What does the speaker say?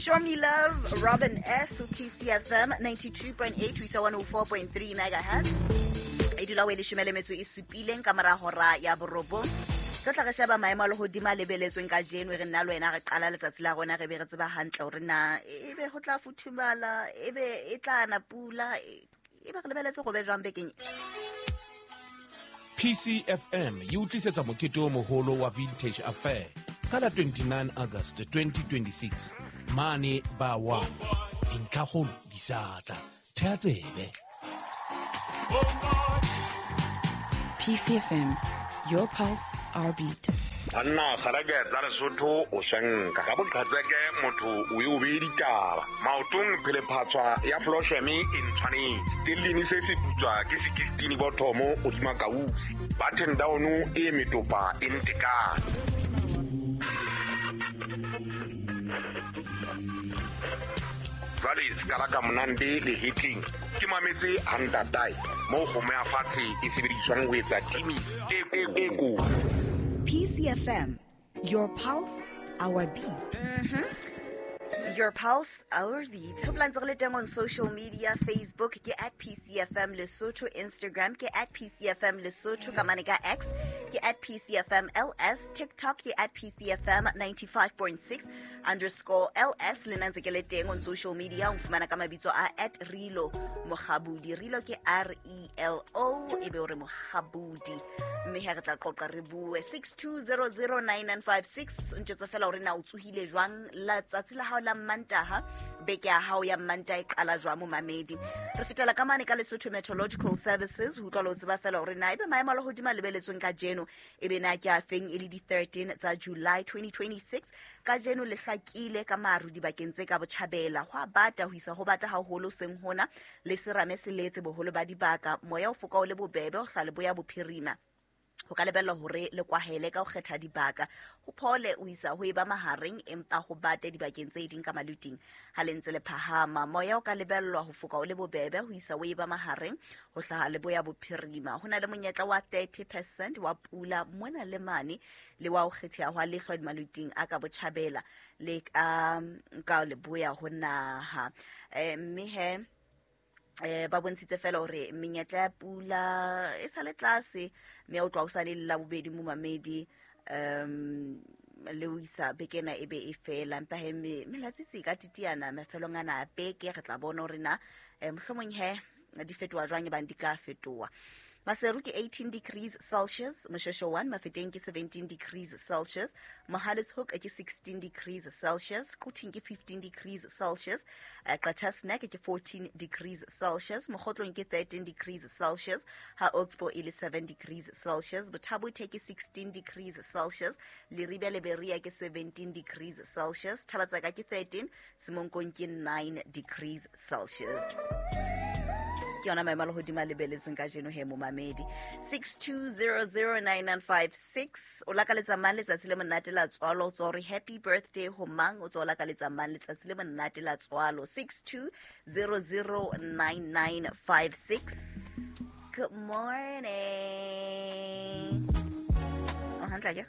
Show Me Love, Robin F, PCFM 92.8 ho isa 104.3 megahertz. E dula o e leshome le metso e supileng ka mora hora ya borobong. Tlo tla re sheba maemo a lehodimo a lebeletsweng kajeno, e re nna le wena re qala letsatsi la rona re be re tseba hantle hore na ebe ho tla futhumala, ebe e tla na pula, ebe re lebeletse go be jwang bekeng. PCFM e o tlisetsa mokete o moholo wa Vintage Affair ka la 29 August 2026 mane ba 1. Dintlhakgolo di sa tla. Thea tsebe. PCFM, your pulse, our beat. Banna kgareke tsa Lesotho o shanka ka boqhatseke motho o e o bee ditaba maotong phelephatswa ya flosheme e ntshwanetse tellini se se putswa ke sekistini bothomo godima kausi button down e metopa e ntekane. Jwale sekala ka monande le hetleng ke mametse hantatae moo kgomo ya fatshe e sebediswang ho etsa timi e ko. PCFM, your pulse, our beat. Your pulse, our beat. Hopola ntse re le teng on social media, Facebook ke at PCFM Lesotho, Instagram ke at PCFM Lesotho, ka mane ka X ke at PCFM LS, TikTok ke at PCFM 95.6 underscore LS. Le nna ntse ke le teng on social media, o nfumana ka mabitso a at Relo Mokgabudi. Relo ke R E L O, e be o re Mokgabudi. Mme ha re tla qoqa re bue 62009956. O ntjwetse fela hore na o tsohile jwang letsatsi la hao la Mmantaha, beke ya hao ya Mmantaha e qala jwang momamedi. Re fetela ka mane ka Lesotho Meteorological Services ho utlwa le ho tseba fela hore na ebe maemo a lehodimo a lebeletsweng kajeno ebe na ke a feng, e le di 13 tsa July 2026. Kajeno le hlakile ka maru dibakeng tse ka botjhabela, ho a bata ho isa ho bata haholo seng hona le serame se letse boholo ba dibaka, moya o foka o le bobebe ho hla leboya bophirima. Ho ka lebellwa hore le kwahele ka ho kgetha dibaka, ho phole o isa ho eba mahareng, empa ho bate dibakeng tse ding ka maluting ha le ntse le phahama. Moya o ka lebellwa ho foka o le bobebe ho isa ho eba mahareng ho hlaha leboya bophirima. Ho na le monyetla wa 30% wa pula mona le mane, le wa ho kgetheha hwa lehlwa maluting a ka botjhabela le ka leboya ho naha. Mme he ba bontshitse fela hore menyetla ya pula e sa le tlase, mme o tloha o sa le la bobedi momamedi, le ho isa beke ena e be e fela. Empa he melatsitsi e ka titiana mafelong ana a beke, re tla bona hore na mohlomong he di fetoha jwang, ebang di ka fetoha. Maseru ke 18 degrees Celsius, Mosheshe 1, Mafeteng ke 17 degrees Celsius, Mohale's Hoek ke 16 degrees Celsius, Quthing ke 15 degrees Celsius, Qacha's Nek ke 14 degrees Celsius, Mokhotlong ke 13 degrees Celsius, ha Oxbow e le 7 degrees Celsius, Botha-Bothe ke 16 degrees Celsius, Leribe le Berea ke 17 degrees Celsius, Thabatsaka ke 13, Semonkong ke 9 degrees Celsius. Ke yona maemo a lehodimo a lebeletsweng kajeno he momamedi. 62009956. O lakaletsa mang letsatsi le monate la tswalo? O tswa hore happy birthday ho mang? O tswa o lakaletsa mang letsatsi le monate la tswalo? 62009956. Good morning. O hantle akere?